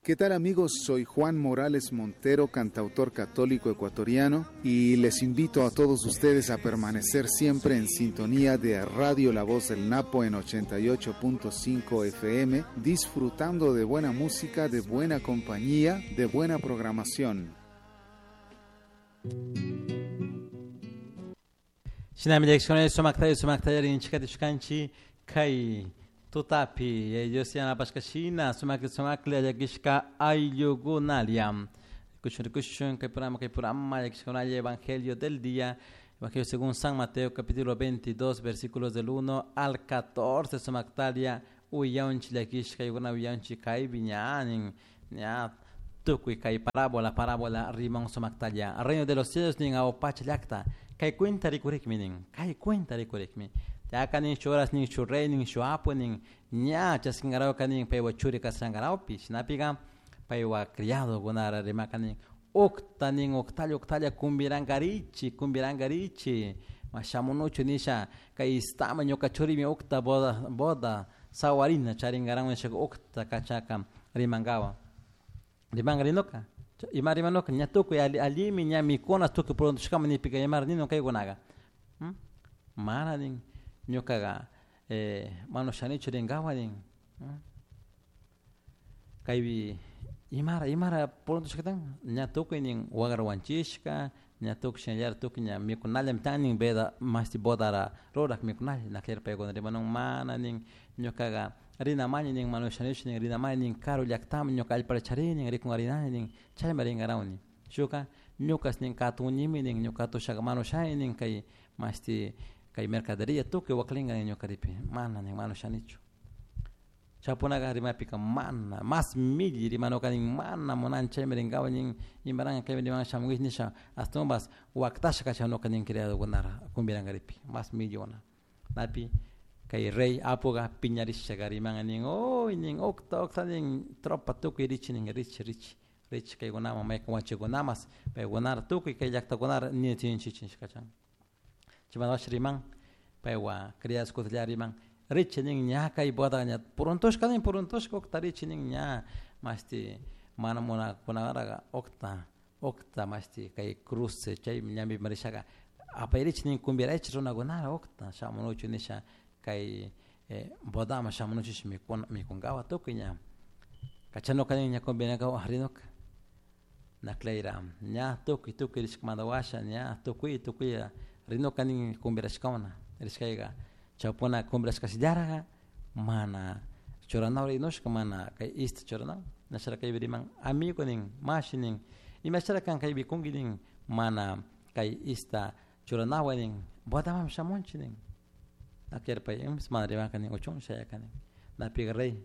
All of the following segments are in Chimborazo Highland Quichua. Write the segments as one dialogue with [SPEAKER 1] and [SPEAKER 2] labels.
[SPEAKER 1] ¿Qué tal amigos? Soy Juan Morales Montero, cantautor católico ecuatoriano, y les invito a todos ustedes a permanecer siempre en sintonía de Radio La Voz del Napo en 88.5 FM, disfrutando de buena música, de buena compañía, de buena programación.
[SPEAKER 2] Shinami llakishkuna sumakta sumakta rinchikatishkanchik kay tutapi Dios yanapashka shina sumakli sumakli llakishka ayllukunalla. Rikushun rikushun kay programa kay programa llakishkunalla Evangelio del día, Evangelio según San Mateo capítulo 22 versículos del 1 al 14 sumaktalia uyanchik llakishka ayllukunalla uyanchik kaypi ña nin ña tukuy kay parábola parábola riman sumaktalla reino de los cielos nin awpacha llakta kay cuenta rikurikmi nin kay cuenta rikurikmi yaka nin shu horas nin shu rey nin shu apu nin ña chaskingarawka nin paywa churi kashangarawpi shinapika paywa criadokunara rimaka nin ukta nin uktalla uktalla kumbirankarichi kumbirankarichi shamunuchu nisha kay istama ñuka churimi ukta boda boda sawarina charinkaran nishaka ukta kachaka rimankawa rimanka rinuka ima rimanuka ña tukuy allimi ña mikuna tukuy prontoshkama nipika imara ninun kaykunaka mana nin ñukaga mana ushanichu rinkawa nin kaypi imara imara prontoshkatan ña tukuy nin wagra wanchishka ña tukuy shinallara tukuy ña mikunallami kan nin veda mashti bodara rurak mikunalla nakllari paykuna rimanun mana nin ñukaga rinamani nin mana ushanichu nin rinamani nin karu llaktaman ñuka allpata charini rikungarinani nin chayma rinkarawni shuka ñukas nin katunimi nin ñuka katushaka mana ushani nin kay mashti kay mercaderia tukuy waklinka nin ñukaripi mana nin mana ushanichu chaypunaka rimapika mana mas milli rimanuka nin mana munani chaymi rinkawa nin imaranka kaymi rimanka shamunkichik nisha ashtawanpas waktasha kachanuka nin criadokunara kumbirankaripi mas milliuna napi kay rey apuka piñarishaka rimanka nin uy nin ukta ukta nin tropa tukuy richi nin richi richi richi kaykunaman maykan wachikunamas paykunara tukuy kay llaktakunara ninachinchichik nishka kachan chaymanta riman paywan criadoskunata riman richi nin ña kay boda ña puruntushka nin puruntushka ukta richi nin ña mashti mana munakunaraga ukta ukta mashti kay cruce chay ñambi rishaka apayrichik nin kumbiraychik runakunara ukta shamunuchu nisha kay bodaman shamunuchik mikuna mikunkawa tukuy ña kachanuka nin ña kumbirakawa rinuka naklayra ña tukuy tukuy rishkamanta washa ña tukuy tukuy rinuka nin kumbirashkawna rishkayka chawpuna kumbirashkashillaraka mana churanawan rinushka mana kay ista churanawan nashara kaypi riman amigo nin mashi nin imashara kan kaypi kunki nin mana kay ista churanawan nin bodaman shamunchik nin pay mana rimanka nin uchun shayaka nin napika rey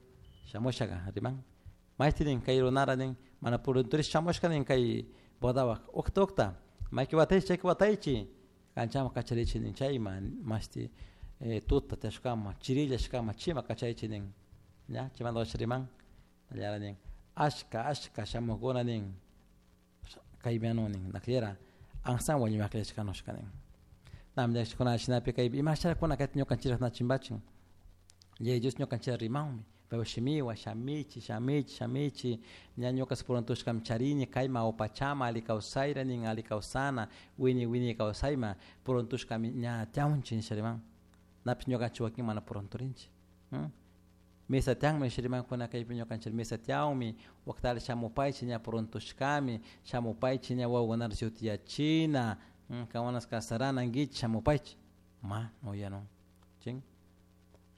[SPEAKER 2] shamushaka riman mayti nin kay runara nin mana purunturishka shamushka nin kay bodawak ukta ukta mayki wataychik chayki wataychik kanchaman kacharichik nin chayma mashti tuta tiyashkama chirillashkama chima kachaychik nin ña chaymanta washa riman nallara nin ashka ashka shamukuna nin kaymi anu nin nakllera ansan wañuymi akllashkanushka nin nami llakishkuna shinapi kaypi imasharakuna kayta ñukanchikta na chimbachin Yaya Dios ñukanchikta rimanmi paypak shimiwan shamichik shamichik shamichik ña ñukas puruntushkami charini kayman awpachama alli kawsayra nin alli kawsana wiñay wiñay kawsayman puruntushkami ña tiyamunchik nisha riman napish ñukanchik wakin mana purunturinchik misa tiyanmi nisha rimankuna kaypi ñukanchik misa tiyanmi waktalla shamupaychik ña puruntushkami shamupaychik ña wawakunata shutiyachina kankunas kasaranankichik shamupaychik mana uyanun chin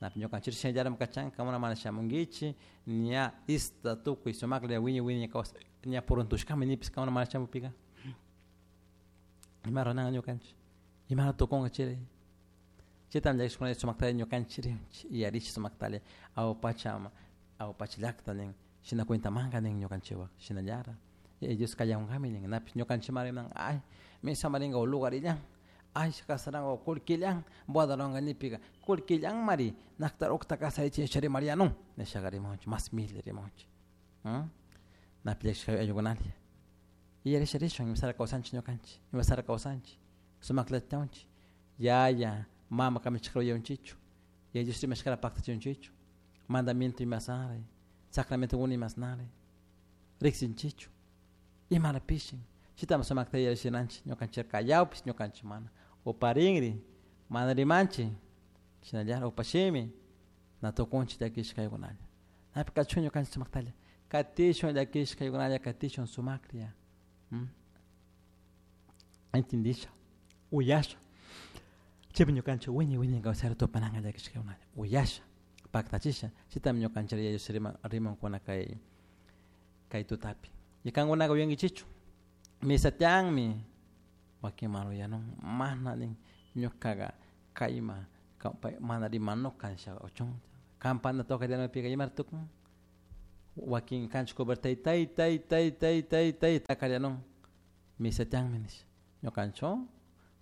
[SPEAKER 2] napi ñukanchik shinallatami kachan kankuna mana shamunkichik ña ista tukuy sumaklla wiñay wiñay kawsay ña puruntushkami nipis kankuna mana shamupika ima ruranka ñukanchik imata tukunka chay chaytami llakishkuna sumaktalla ñukanchik rinchik yuyarichik sumaktalla awpacha awpacha llakta nin shina cuentamanka nin ñukanchikwan shinallara Yaya Dios kallankami nin napish ñukanchikman riman ay misama rinka lugarillan ay kasaranka kullkillan bodaranka nipika kullkillanmari naktar ukta kasarichik nisha rimarianun nishaka rimanchik mas milli rimanchik napi llakishka ayllukunalla yuyarisha rishun imasara kawsanchik ñukanchik imasara kawsanchik sumakllata tiyanchik yaya mama kamachishkata uyanchichu Yaya Dios rimashkata paktachinchichu mandamiento imasnari sacramentokuna imasnari. Riksinchichu. Imara pishin. Chitama sumakta yarishinanchik ñukanchik kallawpis ñukanchik mana. Uparinri mana rimanchik shinallara upashimi na tukunchik llakishkaykunalla. Napi kachun ñukanchik sumaktalla. Katishun llakishkaykunalla katishun sumaklla. Entendisha. Uyasha. Chaypi ñukanchik wiñay wiñay kawsayta tupananka llakishkaykunalla. Uyasha. Paktachisha. Chitami ñukanchik Yaya rimankuna kay tutapi. Y kankunaka uyankichikchu. Misa tiyanmi wakin mana uyanun mana nin ñukaka kayma mana rimanu kansha uchun campana tocarinapika imara tukun wakin kanchik cobertay tay tay tay tay tay tay takarianun misa tiyanmi nisha ñukanchik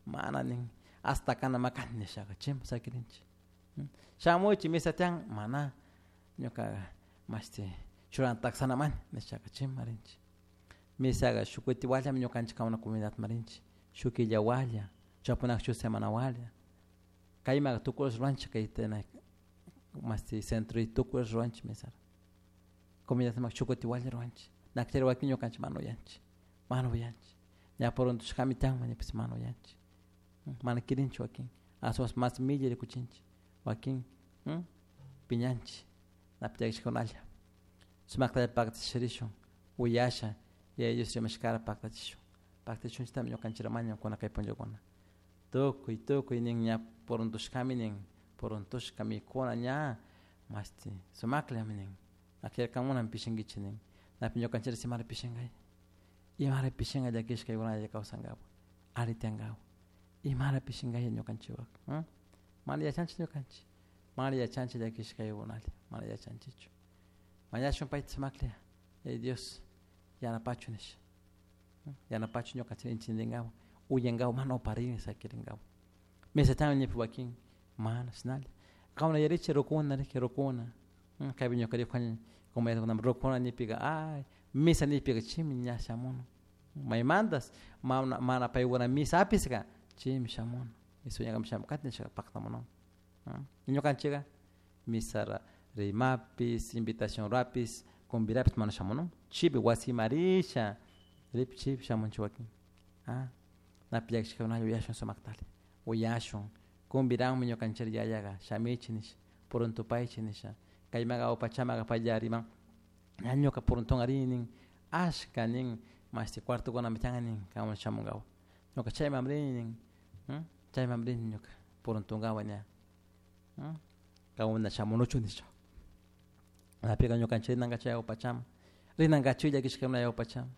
[SPEAKER 2] mana nin hasta kana makan nishaka chimpa sakirinchik shamuchik misa tiyan mana ñuka mashti churana taksanamani nishaka chimpa rinchik. Misaga shuk kuti wallami ñukanchik kawna comunidad marinchik shuk killa walla chapunak shuk semana walla kaymaqa tukuy ruwanchik kay masti centro y tukuy ruwanchik misara comunidad mak shuk kuti walla ruwanchik nakchari wakin ñukanchik mana uyanchik mana uyanchik ña puruntushkami tiyanman nipis mana uyanchik mana kirinchik wakin aswanpas mas millay rikuchinchik wakin piñanchik napi llakishkunalla sumaktalla paktachirishun uyasha Yaya Dios rimashkara paktachishun paktachishunchitami ñukanchik mañankuna kay punllakuna tukuy tukuy nin ña puruntushkami nin puruntushka mikuna ña mashti sumakllami nin akllashkamunami pishinkichik nin napi ñukanchik imara pishinkay imara pishinka llakishkaykunalla kawsankapak alli tiyankapak imara pishinkaya ñukanchikpak mana yachanchik ñukanchik mana yachanchik llakishkaykunalla mana yachanchikchu mañashun payta sumaklla Yaya Dios yanapachu nisha yanapachu ñukanchik entendenkapak uyankapak mana uparini sakirinkapak misatami nipi wakin mana shinalla kawana yarichik rukuna riki rukuna kaypi ñuka rikuni comunidadkunaman rukuna nipika ay misa nipika chaymi ña shamuni maymantas mana paykuna misa apiska chaymi shamuni misa shamukati nishaka paktamunun ñukanchika misara rimapis invitación ruapis convidapis mana shamunun chaypi wasiman risha ripi chaypi shamunchik wakin napi llakishkakunalla uyashun sumaktalla uyashun convidanmi ñukanchik yayaqa shamichik nisha puruntupaychik nisha kaymanka upachamaka paylla riman ña ñuka puruntunka rini nin ashka nin mashti cuartokunami tiyan nin kanwan shamunkapak ñuka chayman rini nin chayman rini ñuka puruntunkapak ña kankuna shamunuchu nisha napika ñukanchik rinanka chay awpachaman rinankachu llakishkakuna awpachaman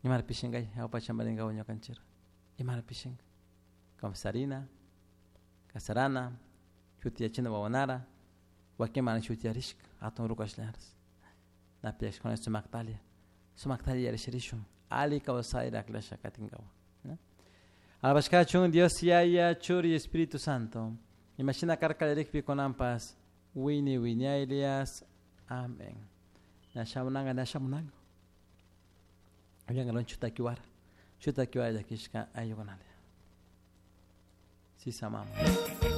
[SPEAKER 2] imara pishinkay awpachaman rinkapak ñukanchik imara pishinka confesarina kasarana shutiyachina wawanara wakin mana shutiyarishka hatun ruku ashlaras napi llakishkuna sumaktalla sumaktalla yarishirishun alli kawsayta aklasha katinkapak. Alabashkachun Dios Yaya Churi Espíritu Santo imashina karka kallarikpi kunanpas wiñay wiñaylias. Amén. Ña shamunanka ña shamunanka uyankalun chutakiwara chutakiwara llakishka ayllukunalla. Sisa mama.